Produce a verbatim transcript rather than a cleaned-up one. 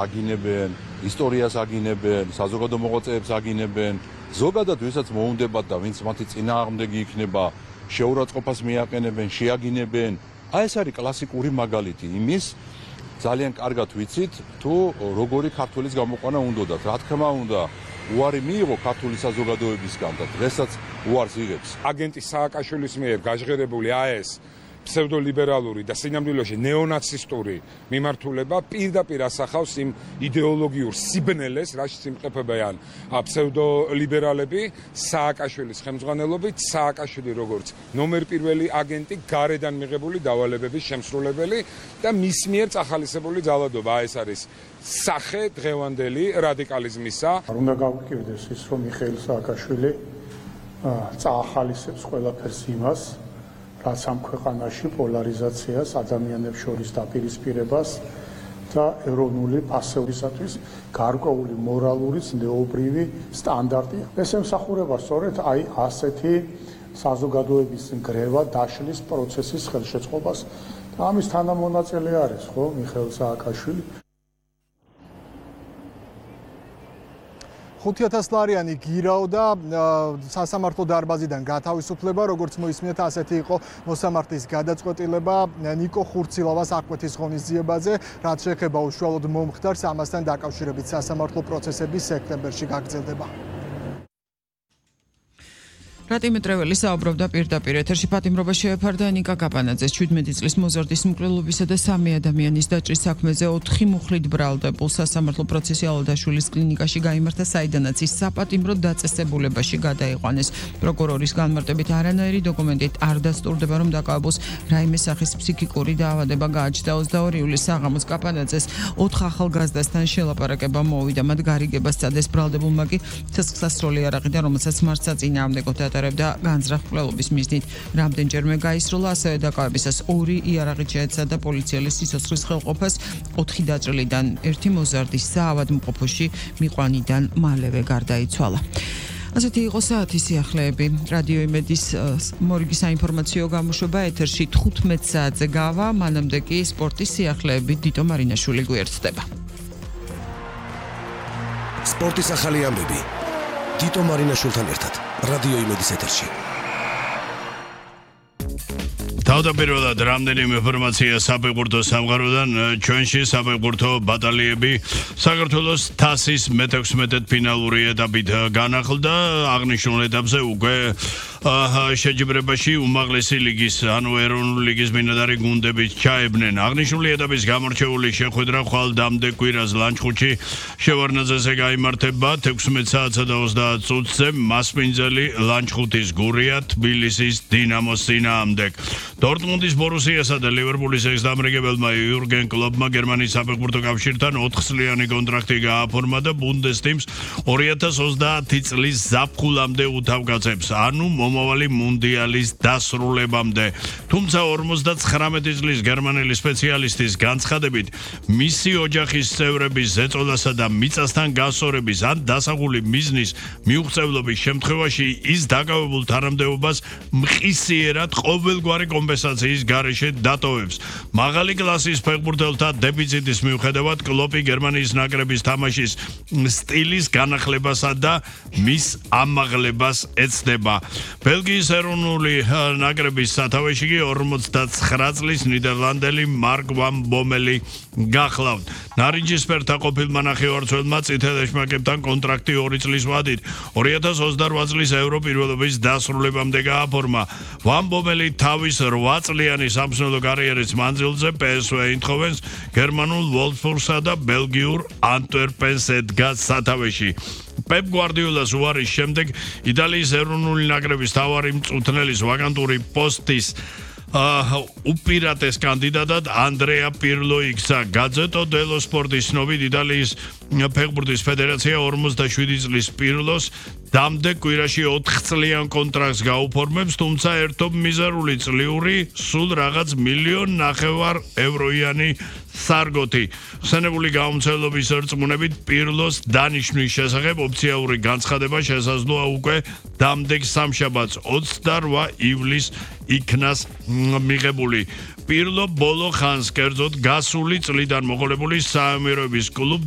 აგინებენ, ისტორიას აგინებენ, საზოგადო მოღვაწეებს აგინებენ, ზოგადად ვისაც მოუნდებათ და ვინც მათი წინააღმდეგი იქნება, შეურაცხყოფას მიაყენებენ, შეაგინებენ. აი ეს არის კლასიკური მაგალითი იმის, ძალიან კარგად ვიცით, თუ როგორი ქართველის გამოყვანა უნდათ. რა თქმა უნდა, უარი მიიღო ქართული საზოგადოებისგან და დღესაც უარს იღებს. აგენტი სააკაშვილის მიერ გაჟღერებული აი ეს ფსევდოლიბერალური და სინამდვილეში ნეონაცისტური მიმართულება პირდაპირ ასახავს იმ იდეოლოგიურ სიბნელეს, რაშიც იმყოფებიან ფსევდოლიბერალები სააკაშვილის ხელმძღვანელობით, სააკაშვილი როგორც ნომერ პირველი აგენტი, გარედან მიღებული დავალებების შემსრულებელი და მის მიერ წახალისებული ძალადობა. ეს არის სახე დღევანდელი რადიკალიზმისა. უნდა გავკეთდეს ის, რომ მიხეილ სააკაშვილი წაახალისებს ყველაფერს იმას, რაც ამ ქვეყანაში პოლარიზაციას, ადამიანებს შორის დაპირისპირებას და ეროვნული პასევრისათვის გარკვეული მორალური, ზნეობრივი სტანდარტი. ეს ემსახურება სწორედ აი ასეთი საზოგადოების ნგრევა დაშლის პროცესის ხელშეწყობას და ამის თანამონაწილე არის, ხო, მიხეილ სააკაშვილი. ხუთი ათას ლარიანი გირაოდა სასამართლო დარბაზიდან გათავისუფლება, როგორც მოისმინეთ, ასეთი იყო მოსამართლის გადაწყვეტილება ნიკო ხურცილავას აღკვეთის ღონისძიებაზე, რაც შეეხება უშუალოდ მომხდარს, ამასთან დაკავშირებით სასამართლო პროცესები სექტემბერში გაგრძელდება. რატიმე ტრეველი საუბრობდა პირდაპირ ეთერში პატიმრობა შეეფარდა ნიკა კაპანაძეს ჩვიდმეტი წლის მოზარდის მკვლელობისა და სამი ადამიანის დაჭრის საქმეზე ოთხი მუხლით ბრალდებულ სასამართლო პროცესი ალადაშვილის კლინიკაში გაიმართა, საიდანაც ის საპატიმრო დაწესებულებაში გადაიყვანეს. პროკურორის განმარტებით არანაირი დოკუმენტით არ დასტურდება, რომ დაკავებულს რაიმე სახის ფსიქიკური დაავადება გააჩნდა. ოცდაორი ივლისს საღამოს კაპანაძეს ოთხ ახალგაზრდასთან შელაპარაკება მოვიდა, მათ გარიგებას სცადეს, ბრალდებულმა კი ცეცხლსასროლი არაყიდა, რომელსაც მარცხაწინააღმდეგო და განზრახ-მკვლელობის მიზნით რამდენჯერმე გაისროლა, ასევე დაკავებისას ორი იარაღით შეეცადა პოლიციელის სიცოცხლის ხელყოფას, ოთხი დაჭრილიდან ერთი მოზარდის საავადმყოფოში მიყვანიდან მალევე გარდაიცვალა. ასეთი იყო საათის სიახლეები. რადიო იმედის მორიგი საინფორმაციო გამოშვება ეთერში თხუთმეტ საათზე გავა, მანამდე კი სპორტის სიახლეები დიტო მარინაშვილი გვერდდება. სპორტის ახალი ამბები დიტო მარინაშვილთან ერთად რადიო იმედის ეთერში. თავდაპირველად რამდენიმე ინფორმაცია საფეხბურთო სამყაროდან. ჩვენში საფეხბურთო ბატალიები საქართველოს თასის მეთექვსმეტე ფინალური ეტაპით განახლდა. აღნიშნულ ეტაპზე უკვე შეჯიბრებაში უმაღლესი ლიგის, ანუ ეროვნული ლიგის ბინადარი გუნდები ჩაებნენ. აღნიშნული ეტაპის გამორჩეული შეხვედრა ხვალ დამდე კვირას ლანჩხუთში შევარდნაძეზე გაიმართება თექვსმეტ საათსა და ოცდაათ წუთზე მასპინძელი ლანჩხუთის გურია თბილისის დინამოს წინააღმდეგ. დორტმუნდის ბორუსიასა და ლივერპულის ექს-დამრიგებელმა იურგენ კლოპმა გერმანიის საფეხბურთო კავშირთან ოთხწლიანი კონტრაქტი გააფორმა და ბუნდესლიგას ორი ათას ოცდაათი წლის ზაფხულამდე უთავკაცებს, ანუ მომავალი მუნდიალის დასრულებამდე. თუმცა ორმოცდათხრამეტი წლის გერმანელი სპეციალისტის განცხადებით, მისი ოჯახის წევრების ზეწოლასა და მიწასთან გასწორების ან დასაღული მიზნის მიუღწევლობის შემთხვევაში ის დაკავებულ თანამდებობას მყისიერად ყოველგვარი კომპენსაციის გარეშე დატოვებს. მაღალი კლასის ფეხბურთელთა დეფიციტის მიუხედავად კლოპი გერმანიის ნაკრების თამაშის სტილის განახლებასა და მის ამაღლებას ეცდება. ბელგიის ეროვნული ნაკრების სათავეში კი ორმოცდაცხრა წლის ნიდერლანდელი მარკ ვან ბომელი გახლავთ. ნარინჯისფერთა ყოფილმა ნახევარმცველმა წითელ ეშმაკებთან კონტრაქტი ორი წლის ვადით ორი ათას ოცდაორი წლის ევრო პირველობის დასრულებამდე გააფორმა. ვან ბომელი თავის რვა წლიანი სამსვლელო კარიერის მანძილზე პე ეს ვე ინდჰოვენს, გერმანულ ვოლფსბურგსა და ბელგიურ ანტვერპენს ედგა სათავეში. პეპ გვარდიოლას უარის შემდეგ იტალიის ეროვნული ნაკრების მთავარი მწვრთნელის ვაკანტური პოსტის უპირატეს კანდიდატად ანდრეა პირლო იქცა. გაზეტო დელო სპორტის ცნობით იტალიის ფეხბურთის ფედერაცია ორმოცდაშვიდი წლის პირლოს დამდე კვირაში ოთხწლიან კონტრაქტს გაუფორმებს, თუმცა ერთობ მიზერული წლიური სულ რაღაც მილიონ ნახევარ ევროიანი სარგოთი. ხსენებული გამომცემლობის რწმუნებით პირლოს დანიშვნის შესახებ ოფიციალური განცხადება შესაძლოა უკვე დამდეგ სამშაბათს ოცდარვა ივლისს იქნას მიღებული. პირლო ბოლო ხანს, კერძოდ გასული წლიდან მოყოლებული საამიროების კლუბ